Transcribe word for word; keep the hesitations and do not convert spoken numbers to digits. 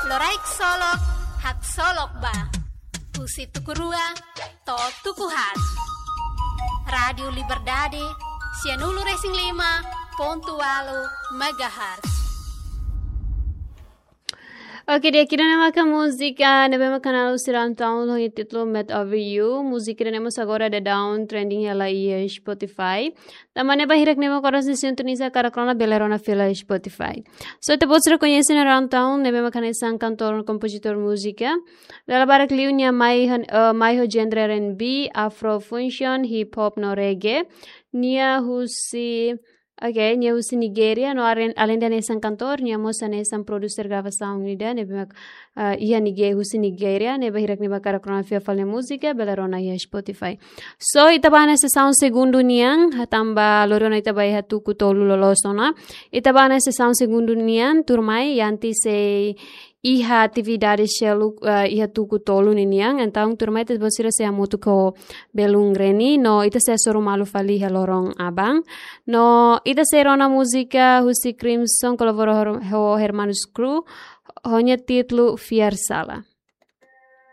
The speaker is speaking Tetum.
Loraik solok, haksolok ba. Husi tuku rua to'o tuku haat. Rádiu Liberdade, sianulu-resin-lima pontu ualu megahertz. Oke, di'ak, ida-ne'e maka múzika ne'ebé mak halo husi Run Town ho títulu Mad Over You. Múzika ida-ne'e mós agora daudaun trending hela iha Spotify. Tanba ne'e ba hirak ne'ebé mak oras ne'e sintoniza karik rona bele rona fila iha Spotify. So, ita-boot sira koñese ona Run Town, ne'ebé mak hanesan kantór no kompozitór múzika. Dala barak liu nia mai han-, eh, mai ho genre R and B, Afro fusion, hip hop no reggae. Nia husi, oke, nia husi Nigéria, no aren-, alende hanesan kantór, nia mós hanesan produser gravasaun ida, ne'ebé mak, eh, iha Nigé-, husi Nigéria, ne'e ba hirak ne'ebé mak karik rona fila fali nia múzika, bele rona iha Spotify. So, ita ba iha sesaun segundu nian, tanba loron ita ba iha tuku tolu loloos ona. Ita ba iha sesaun segundu nian, tuirmai, Yanti sei iha atividade seluk, eh, iha tuku tolu ninian. Entaun, tuirmai, ita-boot sira sei hamutuk ho belun Reni, no ita sei hasoru malu fali iha loron aban. No ita sei rona múzika husi Crimson, kolabora ho, ho Hermanus Crew, ho nia títulu Fiar Sala.